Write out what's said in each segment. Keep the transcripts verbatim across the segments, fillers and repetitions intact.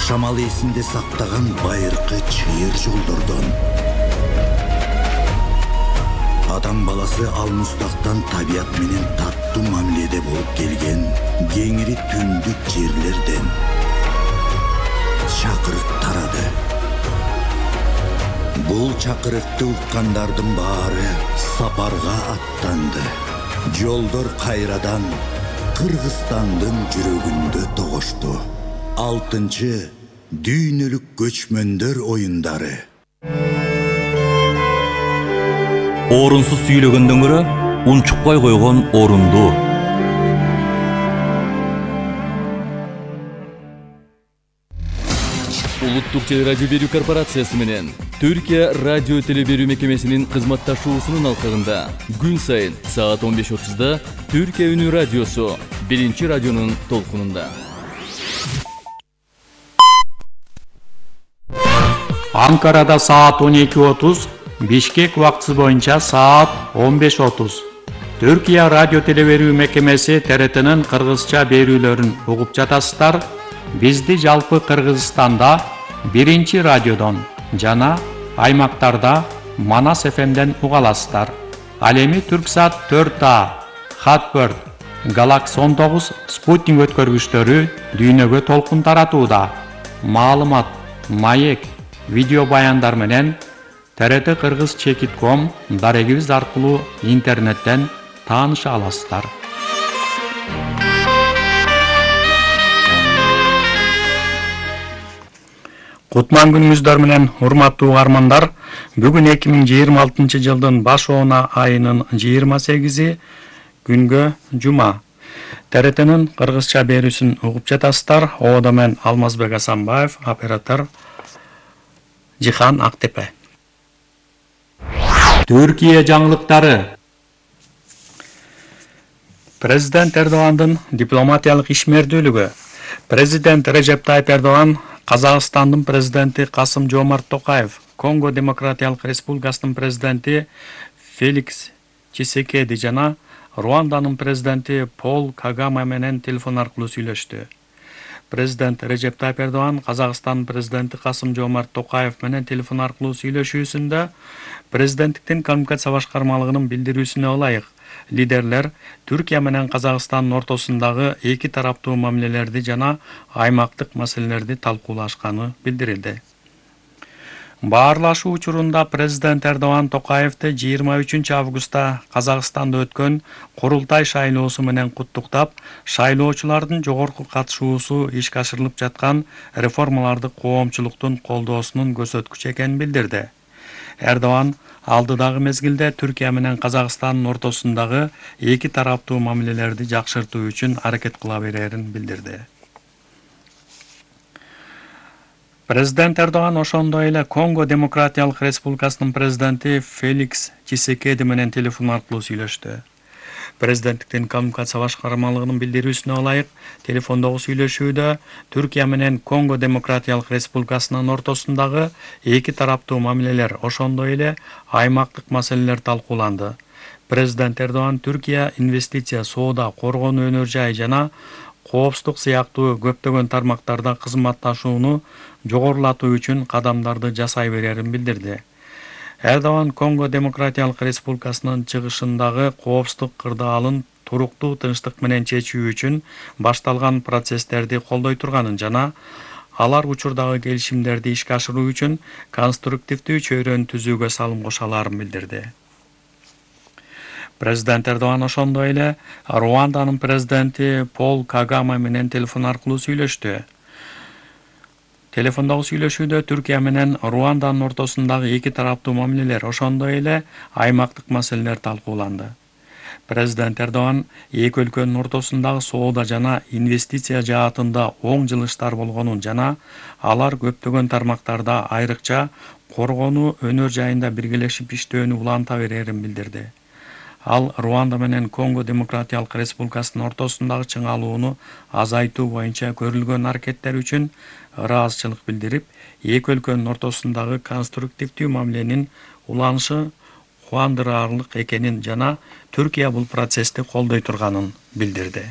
жашамал эсинде сактаган байыркы чыйыр жолдордон. Адам баласы алмустактан табият менен таттуу мамиледе болуп келген кеңири түндүк жерлерден чакырык тарады. Бул чакырыкты уккандардын баары сапарга аттанды. Жолдор кайрадан Кыргызстандын жүрөгүндө тогошту. Алтынчы дүйнөлүк көчмөндөр оюндары. Орунсуз сүйлөгөндөн көрө унчукпай койгон орунду. Улуттук телерадио берүү корпорациясы менен Түркия радио телеберүү мекемесинин кызматташуусунун алкагында күн сайын саат он беш отузда Түркия үнү радиосу биринчи радионун толкунунда. Анкарада саат он эки отуз, Бишкек убактысы боюнча саат он беш отуз. Түркия радио телеберүү мекемеси Т Р Т'нин кыргызча берүүлөрүн угуп жатасыздар. Бизди жалпы Кыргызстанда биринчи радиодон жана аймактарда Манас Ф M'ден уга аласыздар. Ал эми Түрксат төрт А, Хатберт, Галакс он тогуз спутник өткөргүчтөрү дүйнөгө толкун таратууда. Маалымат, маек, видео баяндар менен Т Р Т Кыргыз чекит ком дарегибиз аркылуу интернеттен тааныша аласыздар. Кутман күнүңүздөр менен урматтуу угармандар, бүгүн эки миң жыйырма алтынчы жылдын баш оона айынын жыйырма сегизи күнгө жума. Т Р Т'нин кыргызча берүүсүн угуп жатасыздар. Оодо мен Алмазбек Асанбаев, оператор Жихан Актепе. Түркия жаңылыктары. Президент Эрдогандын дипломатиялык ишмердүүлүгү. Президент Режеп Тайып Эрдоган Казакстандын президенти Касым Жомарт Токаев, Конго Демократиялык Республикасынын президенти Феликс Чисекеди жана Руанданын президенти Пол Кагаме менен телефон аркылуу сүйлөштү. Президент Режеп Тайып Эрдоган Казакстандын президенти Касым Жомарт Токаев менен телефон аркылуу сүйлөшүүсүндө президенттиктин коммуникация башкармалыгынын билдирүүсүнө ылайык лидерлер Түркия менен Казакстандын ортосундагы эки тараптуу мамилелерди жана аймактык маселелерди талкуулашканы билдирилди. Баарлашуу учурунда президент Эрдоган Токаевди жыйырма үчүнчү августта Казакстанда өткөн курултай шайлоосу менен куттуктап, шайлоочулардын жогорку катышуусу ишке ашырылып жаткан реформаларды коомчулуктун колдоосунун көрсөткүчү экенин билдирди. Эрдоган алдыдагы мезгилде Түркия менен Казакстандын ортосундагы эки тараптуу мамилелерди жакшыртуу үчүн аракет кыла берерин билдирди. Президент Эрдоган ошондой эле Конго Демократиялык Республикасынын президенти Феликс Чисекеди менен телефон аркылуу сүйлөштү. Президенттиктин коммуникация башкармалыгынын билдирүүсүнө ылайык, телефондогу сүйлөшүүдө Түркия менен Конго Демократиялык Республикасынын ортосундагы эки тараптуу мамилелер, ошондой эле аймактык маселелер талкууланды. Президент Эрдоган Түркия инвестиция, соода, коргонуу өнөр жай жана коопсуздук сыяктуу көптөгөн тармактарда кызматташууну жогорулатуу үчүн кадамдарды жасай берерин билдирди. Эрдоган Конго Демократиялык Республикасынын чыгышындагы коопсуздук кырдаалын туруктуу тынчтык менен чечүү үчүн башталган процесстерди колдой турганын жана алар учурдагы келишимдерди ишке ашыруу үчүн конструктивдүү чөйрөнү түзүүгө салым кошо аларын билдирди. Президент Эрдоган ошондой эле Руанданын президенти Пол Кагаме менен телефон аркылуу сүйлөштү. Телефондогу сүйлөшүүдө Түркия менен Руанданын ортосундагы эки тараптуу мамилелер, ошондой эле аймактык маселелер талкууланды. Президент Эрдоган эки өлкөнүн ортосундагы соода жана инвестиция жаатында оң жылыштар болгонун жана алар көптөгөн тармактарда, айрыкча коргонуу өнөр жайында биргелешип иштөөнү уланта берерин билдирди. Ал Руанда менен Конго Демократиялык Республикасынын ортосундагы чыңалууну азайтуу боюнча көрүлгөн аракеттер үчүн ыраазычылык билдирип, эки өлкөнүн ортосундагы конструктивдүү мамиленин уланышы кубандыраарлык экенин жана Түркия бул процессти колдой турганын билдирди.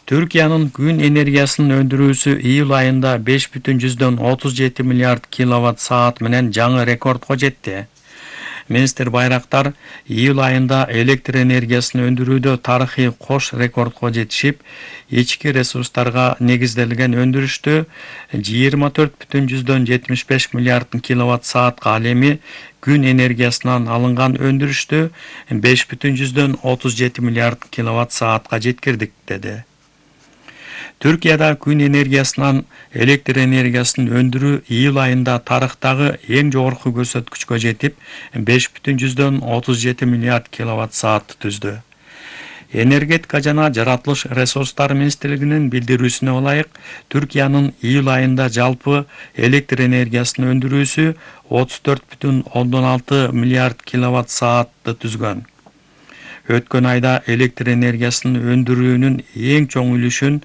Түркиянын күн энергиясынын өндүрүүсү июль айында беш бүтүн жүздөн отуз жети миллиард киловатт саат менен жаңы рекордко жетти. Министр Байрактар июль айында электр энергиясын өндүрүүдө тарыхый кош рекордко жетишип, ички ресурстарга негизделген өндүрүштү жыйырма төрт бүтүн жүздөн жетимиш беш миллиард киловатт саатка, ал эми күн энергиясынан алынган өндүрүштү беш бүтүн жүздөн отуз жети миллиард киловатт саатка жеткирдик деди. Түркияда күн энергиясынан электр энергиясын өндүрүү июль айында тарыхтагы эң жогорку көрсөткүчкө жетип, беш бүтүн жүздөн отуз жети миллиард киловатт саатты түздү. Энергетика жана жаратылыш ресурстары министрлигинин билдирүүсүнө ылайык, Түркиянын июль айында жалпы электр энергиясынын өндүрүүсү отуз төрт бүтүн ондон алты миллиард киловатт саатты түзгөн. Өткөн айда электр энергиясынын өндүрүүнүн эң чоң үлүшүн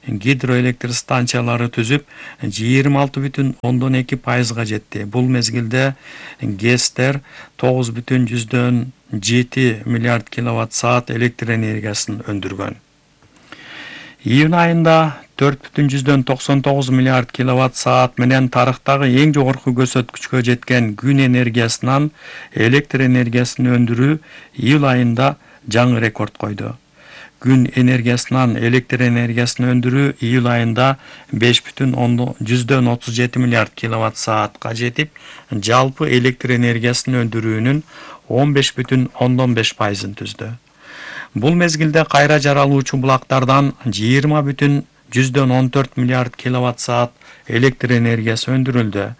гидроэлектр станциялары түзүп, жыйырма алты бүтүн ондон эки пайызга жетти. Бул мезгилде ГЭСтер тогуз бүтүн жүздөн жети миллиард киловатт саат электр энергиясын өндүргөн. Июнь айында төрт бүтүн жүздөн токсон тогуз миллиард киловатт саат менен тарыхтагы эң жогорку көрсөткүчкө жеткен күн энергиясынан электр энергиясын өндүрүү июль айында жаңы рекорд койду. Күн энергиясынан электр энергиясын өндүрүү июль айында беш бүтүн жүздөн отуз жети миллиард киловатт саатка жетип, жалпы электр энергиясынын өндүрүүнүн он беш бүтүн ондон беш пайызын түздү. Бул мезгилде кайра жаралуучу булактардан жыйырма бүтүн жүздөн он төрт миллиард киловатт саат электр энергиясы өндүрүлдү.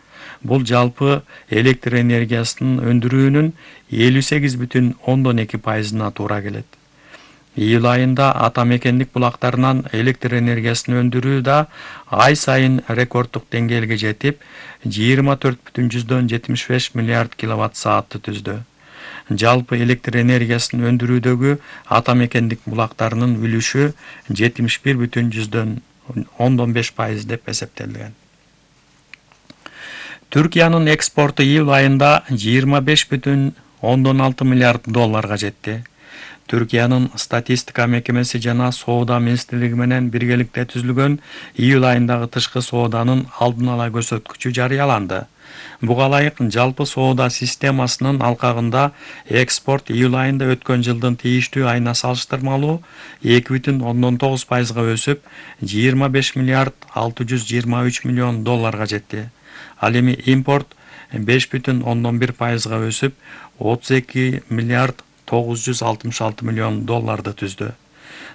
Бул жалпы электр энергиясынын өндүрүүнүн элүү сегиз бүтүн ондон эки пайызына туура келет. Июль айында ата мекендик булактарынан электр энергиясын өндүрүү да ай сайын рекорддук деңгээлге жетип, жыйырма төрт бүтүн жүздөн жетимиш беш миллиард киловатт саатты түздү. Жалпы электр энергиясын өндүрүүдөгү ата мекендик булактарынын үлүшү жетимиш бир бүтүн жүздөн ондон беш пайыз деп эсептелген. Түркиянын экспорту июль айында жыйырма беш бүтүн ондон алты миллиард долларга жетти. Түркиянын статистика мекемеси жана соода министрлиги менен биргеликте түзүлгөн июль айындагы тышкы сооданын алдын ала көрсөткүчү жарыяланды. Буга ылайык жалпы соода системасынын алкагында экспорт июль айында өткөн жылдын тийиштүү айына салыштырмалуу эки бүтүн ондон тогуз пайызга өсүп, жыйырма беш миллиард алты жүз жыйырма үч миллион долларга жетти. Ал эми импорт беш бүтүн ондон бир пайызга өсүп, отуз эки миллиард тогуз жүз алтымыш алты миллион долларды түздү.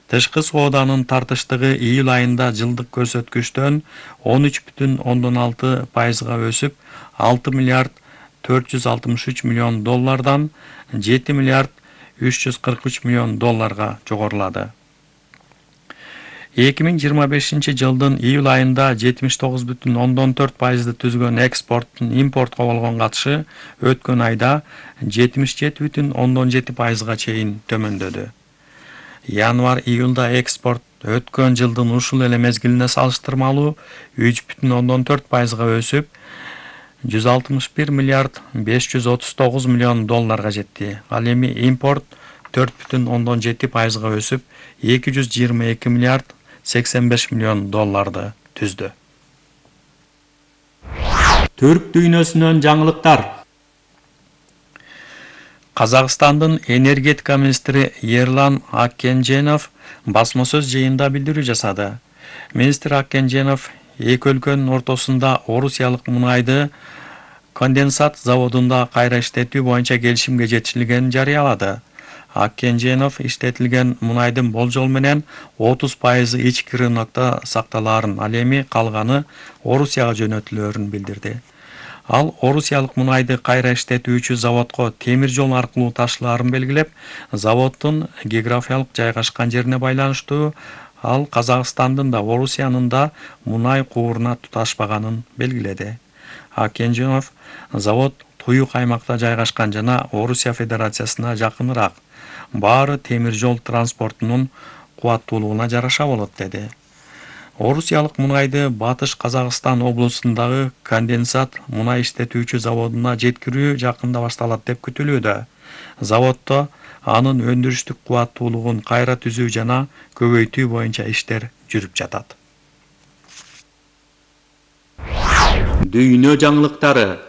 Тышкы сооданын тартыштыгы июль айында жылдык көрсөткүчтөн он үч бүтүн ондон алты пайызга өсүп, алты миллиард төрт жүз алтымыш үч миллион доллардан жети миллиард үч жүз кырк үч миллион долларга жогорулады. эки миң жыйырма бешинчи жылдын июль айында жетимиш тогуз бүтүн ондон төрт пайызды түзгөн экспорттун импортко болгон катышы өткөн айда жетимиш жети бүтүн ондон жети пайызга чейин төмөндөдү. Январь-июлда экспорт өткөн жылдын ушул эле мезгилине салыштырмалуу үч бүтүн ондон төрт пайызга өсүп, жүз алтымыш бир миллиард беш жүз отуз тогуз миллион долларга жетти. Ал эми импорт төрт бүтүн ондон жети пайызга өсүп, эки жүз жыйырма эки миллиард сексен беш миллион долларды түздү. Түрк дүйнөсүнөн жаңылыктар. Казакстандын энергетика министри Ерлан Аккенженов басма сөз жыйында билдирүү жасады. Министр Аккенженов эки өлкөнүн ортосунда орусиялык мунайды конденсат заводунда кайра иштетүү боюнча келишимге жетишилгенин жарыялады. Аккенженов иштетилген мунайдын болжол менен отуз пайызы ички рынокто сакталаарын, ал эми калганы Орусияга жөнөтүлөөрүн билдирди. Ал орусиялык мунайды кайра иштетүүчү заводко темир жол аркылуу ташылаарын белгилеп, заводдун географиялык жайгашкан жерине байланыштуу ал Казакстандын да Орусиянын да мунай кууруна туташпаганын белгиледи. Аккенженов завод туюк аймакта жайгашкан жана Орусия Федерациясына жакыныраак, баары темир жол транспортунун кубаттуулугуна жараша болот деди. Орусиялык мунайды Батыш Казакстан облусундагы конденсат мунай иштетүүчү заводуна жеткирүү жакында башталат деп күтүлүүдө. Заводдо анын өндүрүштүк кубаттуулугун кайра түзүү жана көбөйтүү боюнча иштер жүрүп жатат. Дүйнө жаңылыктары.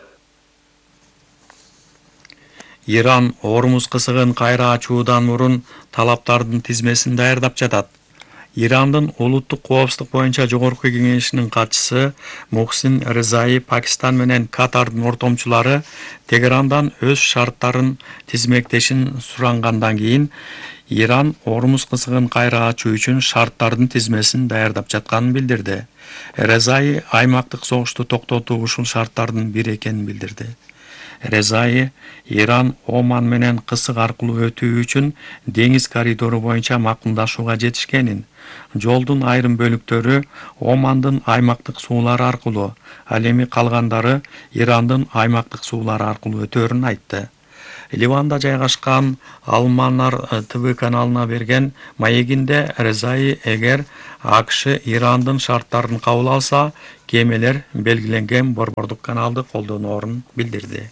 Иран Ормуз кысыгын кайра ачуудан мурун талаптардын тизмесин даярдап жатат. Ирандын улуттук коопсуздук боюнча жогорку кеңешинин катчысы Мухсин Резаи Пакистан менен Катардын ортомчулары Тегерандан өз шарттарын тизмектешин сурангандан кийин Иран Ормуз кысыгын кайра ачуу үчүн шарттардын тизмесин даярдап жатканын билдирди. Резаи аймактык согушту токтотуу ушул шарттардын бири экенин билдирди. Резаи Иран Оман менен кысык аркылуу өтүү үчүн деңиз коридору боюнча макулдашууга жетишкенин, жолдун айрым бөлүктөрү Омандын аймактык суулары аркылуу, ал эми калгандары Ирандын аймактык суулары аркылуу өтөөрүн айтты. Ливанда жайгашкан Алманар ТВ каналына берген маегинде Резаи эгер АКШ Ирандын шарттарын кабыл алса, кемелер белгиленген борбордук каналды колдоноорун билдирди.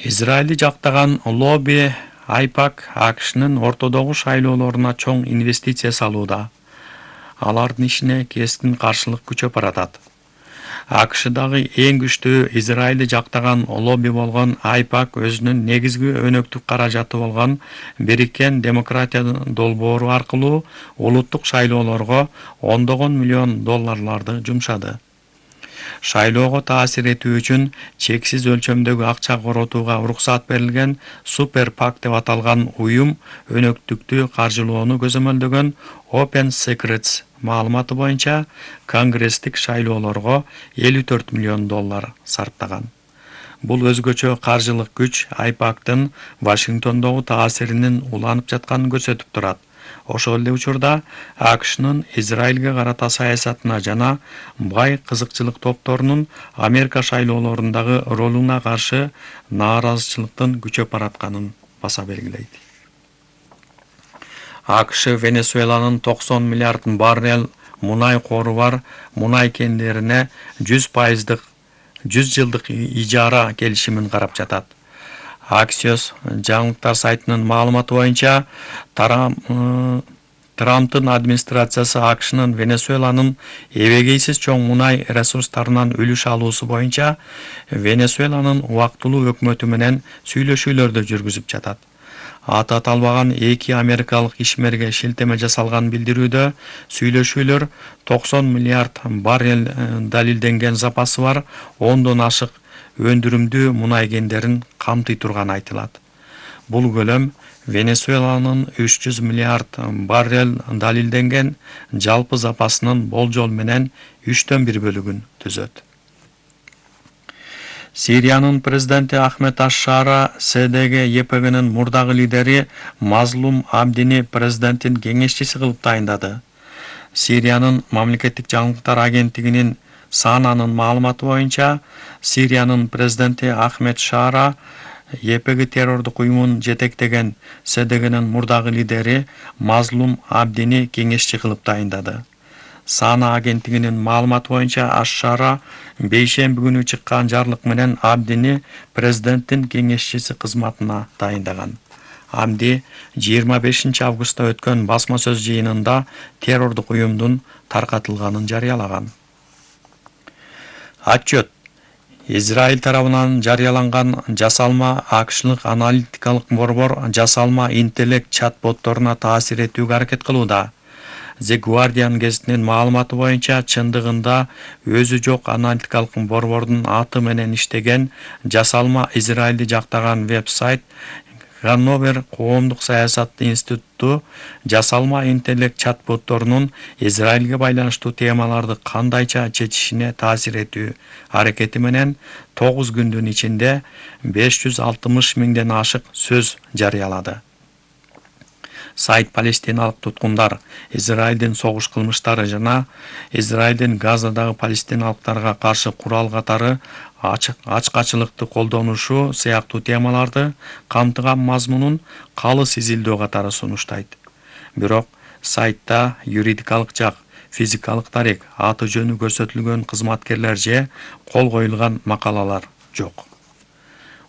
Израилди жактаган лобби Айпак АКШнын ортодогу шайлоолоруна чоң инвестиция салууда. Алардын ишине кескин каршылык күчөп баратат. АКШдагы эң күчтүү Израилди жактаган лобби болгон Айпак өзүнүн негизги өнөктүк каражаты болгон Бириккен демократия долбоору аркылуу улуттук шайлоолорго ондогон миллион долларларды жумшады. Шайлоого таасир этүү үчүн чексиз өлчөмдөгү акча коротууга уруксат берилген Супер Пак деп аталган уюм өнөктүктү каржылоону көзөмөлдөгөн Open Secrets маалыматы боюнча конгресстик шайлоолорго элүү төрт миллион доллар сарптаган. Бул өзгөчө каржылык күч Айпактын Вашингтондогу таасиринин уланып жатканын көрсөтүп турат. Ошол эле учурда АКШнын Израилге карата саясатына жана бай кызыкчылык топторунун Америка шайлоолорундагы ролуна каршы нааразычылыктын күчөп баратканын баса белгилейт. АКШ Венесуэланын токсон миллиард баррель мунай кору бар мунай кендерине жүз пайыздык жүз жылдык ижара келишимин карап жатат. Axios жаңылыктар сайтынын маалыматы боюнча Трамптын администрациясы АКШнын Венесуэланын эбегейсиз чоң мунай ресурстарынан үлүш алуусу боюнча Венесуэланын убактылуу өкмөтү менен сүйлөшүүлөрдү жүргүзүп жатат. Аты аталбаган эки америкалык ишмерге шилтеме жасалган билдирүүдө сүйлөшүүлөр токсон миллиард баррель далилденген запасы бар ондон ашык өндүрүмдүү мунай кендерин камтый турганы айтылат. Бул көлөм Венесуэланын үч жүз миллиард баррель далилденген жалпы запасынын болжол менен үчтөн бир бөлүгүн түзөт. Сириянын президенти Ахмед аш-Шара СДГ ЕПГнын мурдагы лидери Мазлум Абдини президенттин кеңешчиси кылып тайындады. Сириянын мамлекеттик жаңылыктар агенттигинин Сананын маалыматы боюнча, Сириянын президенти Ахмед Шара ЕПГ террордук уюмун жетектеген СДГнын мурдагы лидери Мазлум Абдини кеңешчи кылып тайындады. Сана агенттигинин маалыматы боюнча аш-Шара бейшемби күнү чыккан жарлык менен Абдини президенттин кеңешчиси кызматына тайындаган. Абди жыйырма бешинчи августта өткөн басма сөз жыйынында террордук уюмдун таркатылганын жарыялаган. Отчет. Израиль тарабынан жарыяланган жасалма АКШлык аналитикалык борбор жасалма интеллект чат-ботторуна таасир этүүгө аракет кылууда. The Guardian гезитинин маалыматы боюнча чындыгында өзү жок аналитикалык борбордун аты менен иштеген жасалма Израилди жактаган веб-сайт Ганновер коомдук саясат институту жасалма интеллект чат-ботторунун Израилге байланыштуу темаларды кандайча чечишине таасир этүү аракети менен тогуз күндүн ичинде беш жүз алтымыш миңден ашык сөз жарыялады. Сайт палестиналык туткундар, Израилдин согуш кылмыштары жана Израилдин Газадагы палестиналыктарга каршы курал катары ачкачылыкты колдонушу сыяктуу темаларды камтыган мазмунун калыс изилдөө катары сунуштайт. Бирок сайтта юридикалык жак, физикалык тарих, аты жөнү көрсөтүлгөн кызматкерлер же кол коюлган макалалар жок.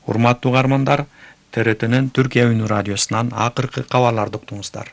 Урматтуу угармандар, Т Р Тнин Түркия Үнү радиосунан акыркы кабарларды уктуңуздар.